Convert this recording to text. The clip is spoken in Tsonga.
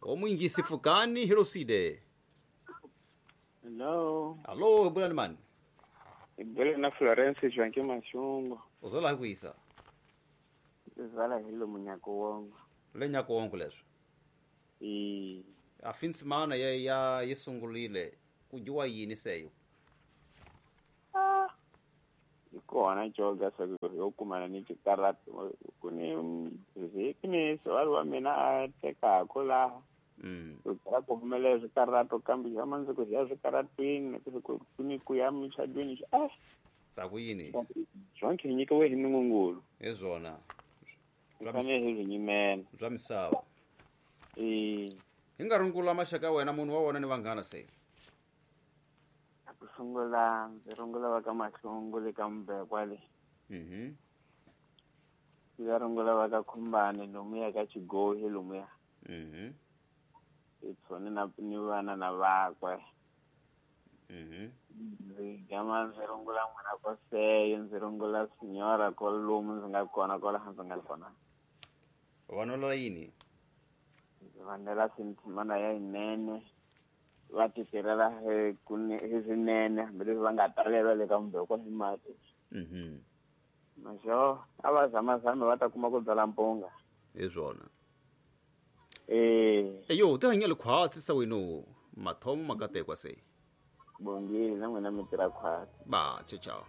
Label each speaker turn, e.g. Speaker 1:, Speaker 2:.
Speaker 1: Omwingisi pfukani hiloside.
Speaker 2: Hello.
Speaker 1: Alo, bulani mani?
Speaker 2: Hi bule na Florence Jwanke Mashungu.
Speaker 1: Uzala hi kuyisa.
Speaker 2: Zala hi lo munyako wongo.
Speaker 1: Le nyako wongo leswo.
Speaker 2: I
Speaker 1: A finsimana ya ya yi sungurile ku dyiwa yini seyo?
Speaker 2: Ah. Hi kona joga sa yo kumana ni xikaratu ku ni vhiki ni sivali wa mina a tekaka laha. Ku byela ku humelela swikarato kambe xa mandzuku hi ya swikaratwini ku ni ku ya muchadweni eh
Speaker 1: Ta ku yini?
Speaker 2: Zonke hi nyikiwe hi Nungungulu.
Speaker 1: Hi swona.
Speaker 2: Hi fanele hi swi nyimela.
Speaker 1: Bya misava.
Speaker 2: E.
Speaker 1: Hi nga rungula maxaka ya wena munhu wa wena ni vanghana se.
Speaker 2: Ku sungula ndzi rungula va ka Mahlungu le ka Mbekwa le. Ndzi rungula va ka Khumbane lomuya ka Xigohi lomuya. Hi tshone na ni vana na vakwe. Ndzi gama ndzi rungula n'wina koseyo, ndzi rungula sinyora kolomu ndzi nga kona kwalaha ndzi nga kona.
Speaker 1: Vanwela yini?
Speaker 2: Ndzi vanela sintimana ya yinene. Va ti tirhela hi hi swinene hambileswi va nga talelwa le ka Mbekwa hi mati. Maxo a va zamazame va ta kuma ku byala mpunga.
Speaker 1: Hi swona.
Speaker 2: Eh.
Speaker 1: Eyo, ti hanyele khwatsi sa wena mathomo makatekwa se.
Speaker 2: Bongile na n'wina mi tirha khwatsi.
Speaker 1: Ba, ciao ciao.